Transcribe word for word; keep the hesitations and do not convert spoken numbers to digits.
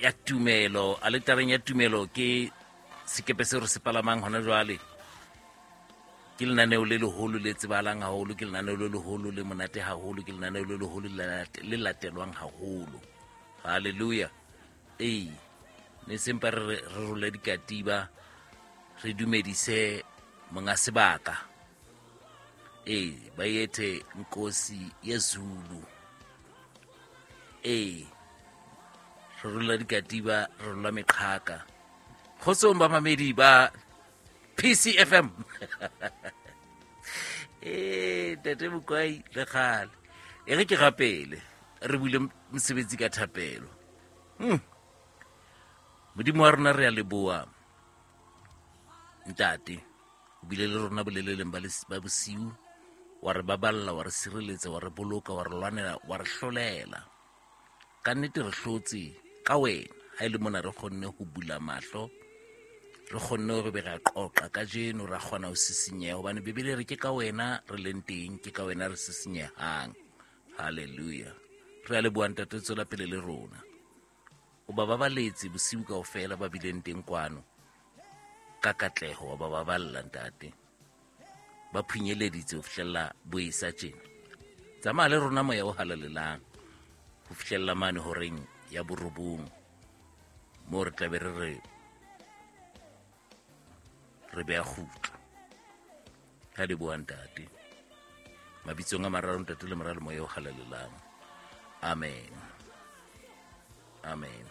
ya tumelo. Aletareng ya tumelo ke sekepe seo re se palamang hona jwale. Ke lenaneo le leholo le tsebahalang haholo, ke lenaneo le leholo le monate haholo, ke lenaneo le leholo le latelwang haholo. Hallelujah. Ee, ne sempa re re role dikatiba, re dumedise monga sebaka. Ee, ba ethe Nkosi yeZulu. Ee, re rola dikatiba, re rola meqhaka. Kgotsong ba mamedi ba P C F M. Eh, Ntate Mokwai le kgale. E re ke rapele, re bule mosebetsi ka thapelo. Hmm. Modimo wa rona re a leboha. Ntate, o bile le rona boleleleng ba ba bosiu, wa re baballa, wa re sireletsa, wa re boloka, wa re lwanela, wa re hlolela. Ka nnete re hlotse ka wena. Ha e le mona re kgonne ho bula mahlo, re kgonne hore be ra qoqa kajeno, ra kgona ho sisinyeha, hobane Bibele re ke ka wena re leng teng, ke ka wena re sisinyehang. Hallelujah. Re a leboha Ntate, tswela pele le rona. O ba babaletse bosiu kaofela ba bileng teng kwano ka katleho, wa ba baballa Ntate. Ba phunyeleditse ho fihlella boesa tjena. Tsamaya le rona moya o halalelang ho fihlella mane horeng ya borobong, moo re tla be re re re beha kgutla. Ka leboha Ntate. Mabitsong a mararo Ntate le Mora le Moya o halalelang. Amen. Amen.